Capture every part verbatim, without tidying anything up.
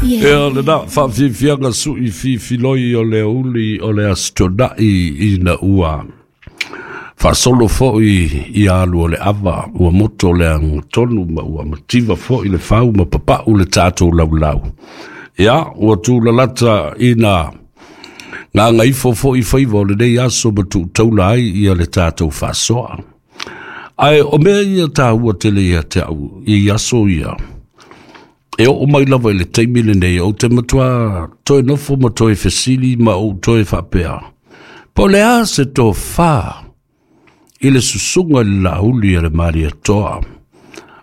Ia lena faafiafiaga suʻi fifiloi o le aoauli o le Aso Toonai ina ua faasolo foʻi ia alu o le ava ua moto le agatonu ma ua mativa foʻi le fau ma papaʻu le tatou laulau. Ia ua tulalata ina gagaifo foʻi faiva o lenei aso ma tuutaula ai ia le tatou faasoa. Ae o mea ia taua tele ia te au i aso ia, e oo mai lava i le taimi lenei ou te matua toe nofo ma toe fesili ma ou toe faapea, po o le a se tofā i le susuga i le lauli a le Malietoa,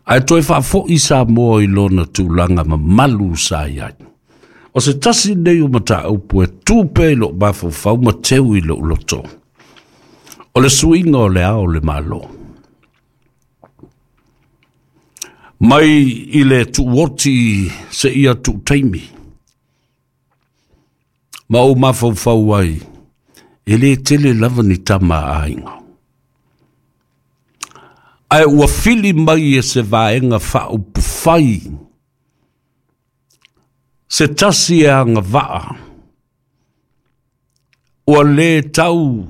ae toe faafoʻi Samoa i lona tulaga mamalu sa i ai. O se tasi nei o mataupu e tu pea i lou mafaufau ma teu i lou loto, o le suiga o le ao o le Malo. Mai i le tuuoti seia tuutaimi, ma ou mafaufau ai, e lē tele lava ni tama a aiga. Ae ua fili mai e se vaega faaupufai se tasi e agavaa ua lē tau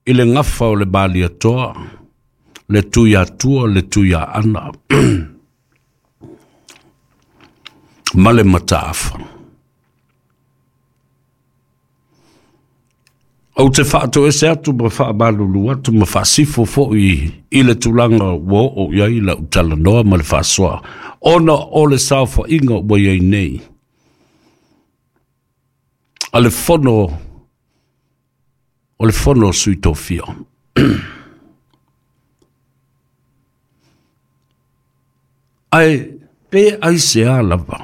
i le gafa o le Malietoa, le Tuiatua, le Tuiaana ma le Mataafa. Ou te faatoese atu ma faamalulu atu ma faasifo foʻi i le tulaga ua oo i ai lau talanoa ma le faasoa, ona o le saofaiga ua i ai nei a le fono o le fono o Sui Tofia. Ae pe aisea lava